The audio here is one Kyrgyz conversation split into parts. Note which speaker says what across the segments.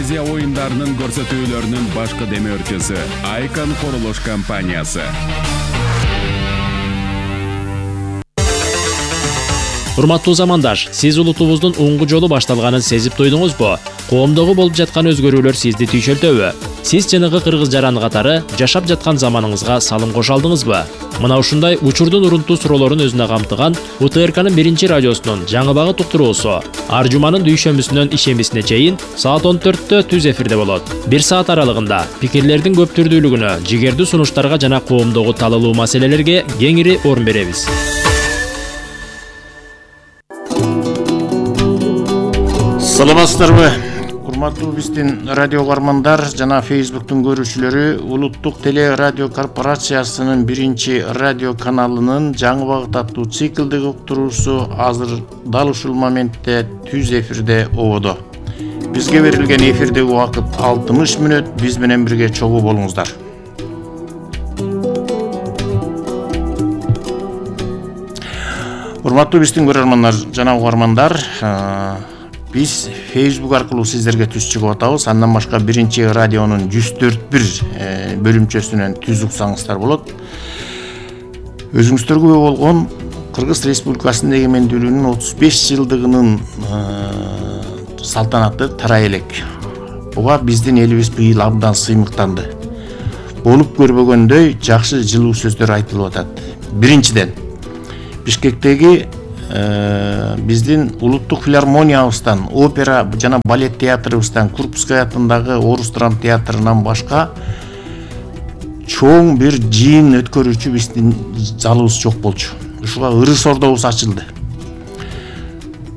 Speaker 1: Азия оюндарынын көрсөтүүлөрүнүн башкы демөөрчүсү Айкон курулуш компаниясы.
Speaker 2: Урматтуу замандаш, сиз улутубуздун оңгу жолу башталганын сезип туйдуңузбу? Коомдогу болуп жаткан өзгөрүүлөр сизди түйшөлтөбү? Сиз чыныгы кыргыз жараны катары жашап жаткан заманыңызга салым кошо алдыңызбы? Мына ушундай учурдун урунтуу суроолорун өзүнө камтыган УТРКнын 1-радиосунун жаңы багыт уктуруусу ар жуманын дүйшөмбүсүнөн ишембисине чейин саат 14-тө түз эфирде болот. 1 саат аралыгында пикирлердин көп түрдүүлүгүнө, жигердүү сунуштарга жана коомдогу талалуу маселелерге кеңири орун беребиз.
Speaker 3: Саламатсыздарбы? Урматтуу биздин радио угармандар жана Facebooktун көрүүчүлөрү, Улуттук теле радио корпорациясынын 1-радио каналынын жаңы багыт аттуу циклдик уктуруусу азыр дал ушул моментте түз эфирде ободо. Бизге берилген эфирдеги убакыт 60 мүнөт. Биз менен бирге чогуу болуңуздар. Урматтуу биздин көрөрмандар жана угармандар, биз Facebook аркылуу сиздерге түз чыгып атабыз. Андан башка 1-радионун 104.1 бөлүмчөсүнөн түз уксаңыздар болот. Өзүңүздөр күбө болгон Кыргыз Республикасынын эгемендүүлүгүнүн 35 жылдыгынын салтанаты тарай элек. Буга биздин элибиз быйыл абдан сыймыктанды. Болуп көрбөгөндөй жакшы жылуу сөздөр айтылып атат. Биринчиден, Бишкектеги биздин улуттук филармониябыздан, опера жана балет театрыбыздан, Курбская атындагы орус драм театрынан башка чоң бир жыйын өткөрүүчү биздин залыбыз жок болчу. Ушуга ырыс ордобуз ачылды.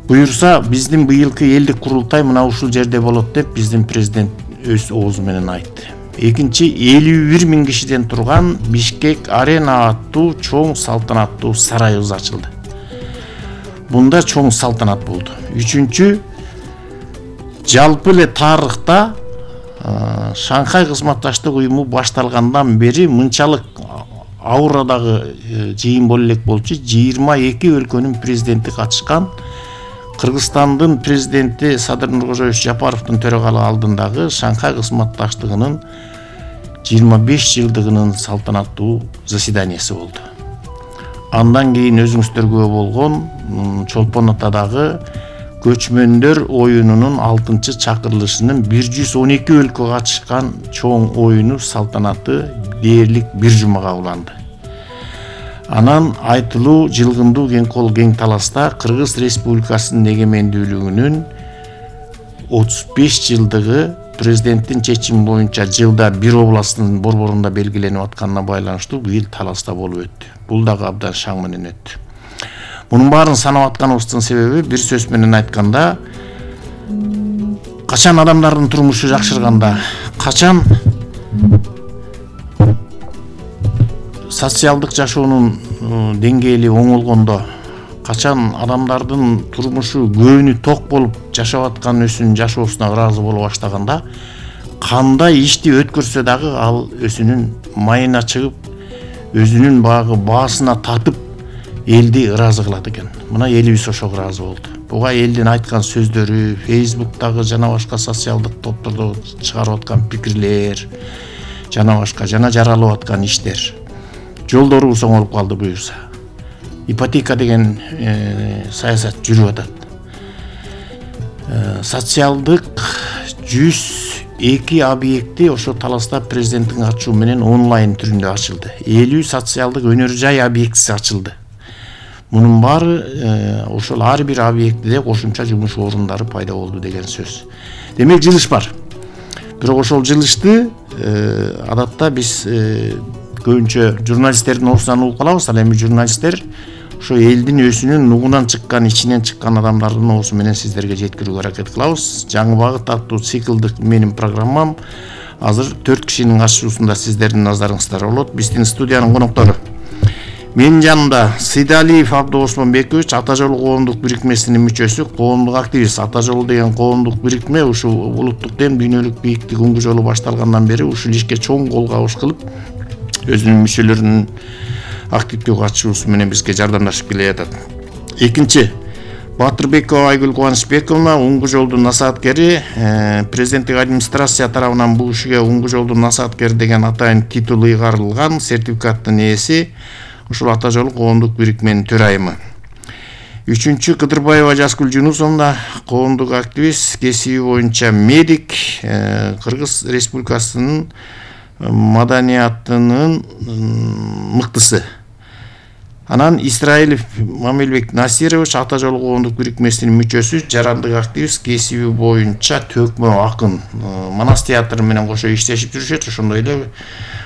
Speaker 3: Буюрса, биздин быйылкы элдик курултай мына ушул жерде болот деп биздин президент өз оозу менен айтты. Экинчи, 51 000 кишиден турган Бишкек арена аттуу чоң салтанаттуу сарайыбыз ачылды. Бунда чоң салтанат болду. Үчүнчү, жалпы эле тарыхта Шанхай кызматташтык уюму башталгандан бери мынчалык аурадагы жыйын боло элек болчу. 22 өлкөнүн президенти катышкан. Кыргызстандын президенти Садыр Нуркожоевич Жапаровдун төрагалыгы алдындагы Шанхай кызматташтыгынын 25 жылдыгынын салтанаттуу заседаниясы болду. Андан кийин өзүңүздөр күбө болгон Чолпон Атадагы көчмөндөр оюнунун 6-чакырылышынын 112 өлкө катышкан чоң оюну салтанаты дээрлик бир жумага уланды. Анан айтылуу жылгындуу кең кол кең таласта Кыргыз Республикасынын эгемендүүлүгүнүн 35 жылдыгы президенттин чечими боюнча жылда бир областтын борборунда белгиленип атканына байланыштуу быйыл таласта болуп өттү. Бул дагы абдан шаң менен өттү. Мунун баарын санап атканыбыздын себеби бир сөз менен айтканда, качан адамдардын турмушу жакшырганда, качан социалдык жашоонун деңгээли оңолгондо, качан адамдардын турмушу көөнү ток болуп жашап аткан өсүнүн жашоосуна ыраазы боло баштаганда, кандай ишти өткөрсө дагы ал өзүнүн майына чыгып, өзүнүн багы баасына татып элди ыраазы кылат экен. Мына элибиз ошого ыраазы болду. Буга элдин айткан сөздөрү, Facebooktагы жана башка социалдык топтордо чыгарып аткан пикирлер, жана башка жана жаралып аткан иштер. Жолдорубуз оңолуп калды буюрса. Ипотека деген саясат жүрүп атат. Социалдык 102 объекти ошо таласта президенттин ачуу менен онлайн түрүндө ачылды. 50 социалдык өнөр жай объектиси ачылды. Мунун баары ошол ар бир объектиде кошумча жумуш орундары пайда болду деген сөз. Демек жылыш бар. Бирок ошол жылышты адатта биз көбүнчө журналисттердин оозунан угуп калабыз. Ал эми журналисттер ошо элдин өзүнүн нугунан чыккан, ичинен чыккан адамдардын оозу менен сиздерге жеткирүүгө аракет кылабыз. Жаңы багыт аттуу циклдик менин программам азыр 4 кишинин катышуусунда сиздердин назарыңызда болот. Биздин студиянын коноктору. Менин жанымда Сыйдалиев Абды Осмонбекович, Ата жолу коомдук бирикмесинин мүчөсү, коомдук активист. Ата жолу деген коомдук бирикме ушу улуттук дем дүйнөлүк бийиктик оңгу жолу башталгандан бери ушул ишке чоң кол кабыш кылып, өзүнүн мүчөлөрүнүн активдүү катышуусу менен бизге жардамдашып келе жатат. Экинчи, Батырбекова Айгүл Кубанычбековна уңгу жолдун насааткери, президенттик администрация тарабынан бул кишиге уңгу жолдун насааткери деген атайын титул ыйгарылган, сертификаттын ээси, ушул Ата жолу коомдук бирикменин төрайымы. Үчүнчү Кыдырбаева Жазгүл Жунусовна коомдук активист, кесиби боюнча медик, Кыргыз Республикасынын маданиятынын мыктысы. Анан Исраилов Мамилбек Насирович Ата жолу коомдук бирикмесинин мүчөсү, жарандык активист, кесиби боюнча төкмө акын. Манас театры менен кошо иштешип жүрүшөт, ошондой эле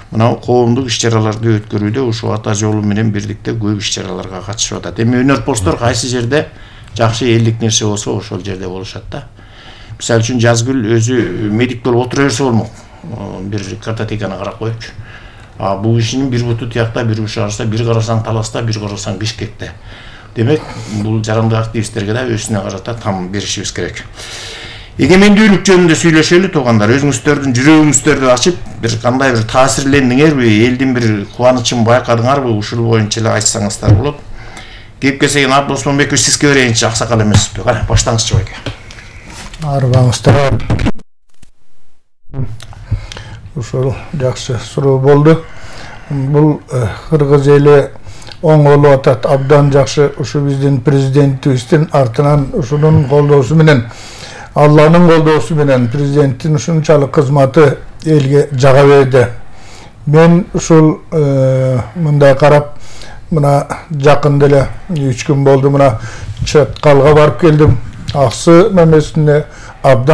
Speaker 3: мына коомдук иш-чараларды өткөрүүдө ушул Ата жолу менен бирликте көп иш-чараларга катышып атат. Эми өнөрпоздор кайсы жерде жакшы элдик нерсе болсо ошол жерде болушат да. Мисалы үчүн Жазгүл өзү медик болуп отура берсе болмок. Бир картотеканы карап коюпчу. Бул кишинин бир буту тиякта, бир ушу арса, бир карасаң Таласта, бир карасаң Бишкекте. Демек, бул жарандык активисттерге да өзүнө карата там беришибиз керек. Эгемендүүлүк жөнүндө сүйлөшөлү туугандар. Өзүңүздөрдүн жүрөгүңүздөрдү ачып, бир кандай бир таасирлендиңерби, элдин бир кубанычын байкадыңарбы, ушул боюнча эле айтсаңыздар болот. Кеп келсеген Абдос Момбекович, сизге берейинчи, аксакал эмессизби? Кана, баштаңызчы байке.
Speaker 4: Арбаңыздар. Ушул жакшы суроо болду. Бул кыргыз эли оңолуп атат, абдан жакшы. Ушу биздин президентибиздин артынан ушунун колдоосу менен, Алланын колдоосу менен президенттин ушунчалык кызматы элге жага берди. Мен ушул мындай карап, мына жакында эле 3 күн болду, мына Чаткалга барып келдим. Аксы мамесине абдан